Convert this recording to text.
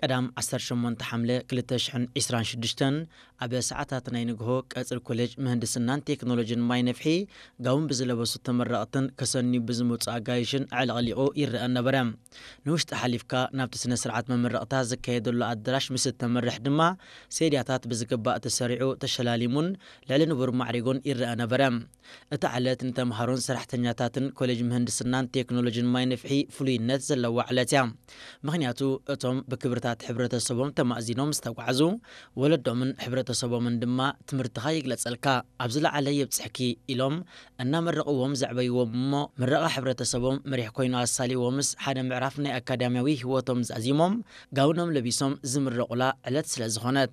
ቀዳም ዓሰርተ ሸሞንተ ሓምለ ክልተ ሽሕን ዕስራን ሽዱሽተን ኣብ ሰዓታት ናይ ንግሆ ቀጽሪ ኮሌጅ ምህንድስናን ቴክኖሎጂን ማይ ነፍሒ ጋውን ብዝለበሱ ተመረቕትን ከሰንዩ ብዝመጹ ኣጋይሽን ኣዕለቕሊቑ ይረአ ነበረ። ንውሽጢ ሓሊፍካ ናብቲ ስነ ስርዓት መመረቕታ ዝካየደሉ ኣዳራሽ ምስ እተመርሕ ድማ ሴድያታት ብዝግባእ ተሰሪዑ ተሸላሊሙን ልዕሊ ንቡር ማዕሪጉን ይረአ ነበረ። እታ ዕለት ንተምሃሮን ሰራሕተኛታትን ኮሌጅ ምህንድስናን ቴክኖሎጂን ማይ ነፍሒ ፍሉይነት ዘለዋ ዕለት እያ። ምኽንያቱ እቶም ብክብርታት ሕብረተሰቦም ተማእዚኖም ዝተጓዕዙ ወለዶምን ሕብረተሰቦምን ድማ ትምህርትኻ ይግለጸልካ፣ ኣብ ዝለዓለ የብጽሕኪ ኢሎም እናመረቕዎም ዘዕበይዎም እሞ ምረቓ ሕብረተሰቦም መሪሕ ኮይኑ ኣሳልይዎምስ ሓደ ምዕራፍ ናይ ኣካዳሚያዊ ህይወቶም ዛዚሞም ጋውኖም ለቢሶም ዝምረቑላ ዕለት ስለ ዝኾነት።